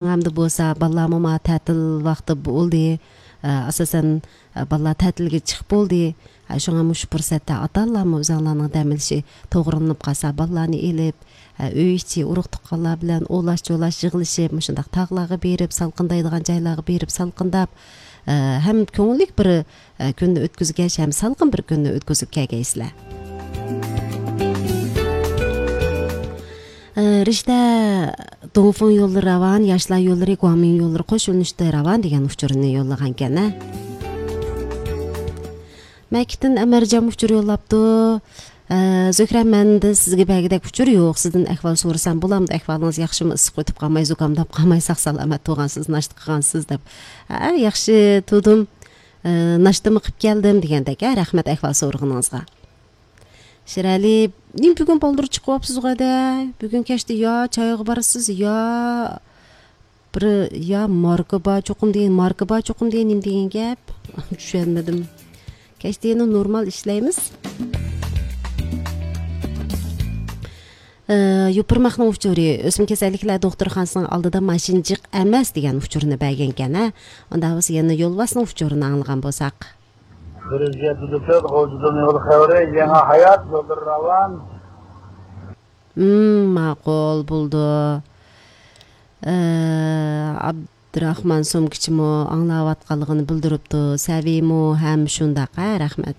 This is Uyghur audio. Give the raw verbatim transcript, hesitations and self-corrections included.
ھەمدە بولسا بالىلارمۇ ما تەتىل ۋاقتى بولدى. ئە، ئاساسەن، ئە، بالىلار تەتىلگە چىقىپ بولدى. ئە، شۇڭا مۇشۇ پۇرسەتتە ئاتا-ئانىلارمۇ ئۆزۈڭلارنىڭ دەم ئېلىشى توغرىلىنىپ قالسا، بالىلارنى ئېلىپ، ئە، ئۆي ئىچى ئۇرۇق-تۇغقانلار بىلەن ئولاش-چولاش يىغىلىشىپ، مۇشۇنداق تاغلارغا بېرىپ، سالقىندايدىغان جايلارغا بېرىپ سالقىنداپ، ئە، ھەم كۆڭۈللۈك بىر، ئە، كۈننى ئۆتكۈزگەچ، ھەم سالقىن بىر كۈننى ئۆتكۈزۈپ كەلگەيسىلەر. ئە، رىشتە دۇڭفېڭ يوللىرى راۋان، ياشلار يوللىرى، گۇاڭمىڭ يوللىرى قوش يۆنىلىشتە راۋان دېگەن ئۇچۇرنى يوللىغانكەن، ھە. مەكىتتىن ئەمەرجان ئۇچۇر يوللاپتۇ. ئە، زۆھرە، مەندە سىزگە بەرگۈدەك ئۇچۇر يوق. سىزدىن ئەھۋال سورىسام بولامدۇ؟ ئەھۋالىڭىز ياخشىمۇ؟ ئىسسىق ئۆتۈپ قالماي، زۇكامداپ قالماي، ساق-سالامەت تۇرغانسىز، ناشتا قىلغانسىز دەپ. ھە، ياخشى تۇردۇم. ئە، ناشتىمۇ قىلىپ كەلدىم دېگەندەك. ھە، رەھمەت ئەھۋال سورىغىنىڭىزغا. شىرئەلى، نېمە بۈگۈن بالدۇر چىقىۋاپسىز غەدە؟ بۈگۈن كەچتە يا چايغا بارىسىز، يا بىر، يا ماركا بار چوقۇم دېگەن، ماركا بار چوقۇم دېگەن نېمە دېگەن گەپ؟ چۈشەنمىدىم. كەچتە يەنە نورمال ئىشلەيمىز. ئى، يوپۇرماقنىڭ ئۇچۇرى، ئۆسمە كېسەللىكلەر دوختۇرخانىسىنىڭ ئالدىدا ماشىنا جىق ئەمەس دېگەن ئۇچۇرنى بەرگەنكەن، ھە؟ ئۇنداق بولسا يەنە يولۋاسنىڭ ئۇچۇرىنى ئاڭلىغان بولساق. بىر يۈز يەتتە تۆت، غۇلجىدىن يول خەۋىرى، يېڭى ھايات، يوللىرى راۋان. مم، ماقۇل، بولىدۇ. ئە، ئابدۇراخمان سومكىچىمۇ ئاڭلاۋاتقانلىقىنى بىلدۈرۈپتۇ. سەۋىمۇ ھەم شۇنداق، ھە، رەھمەت.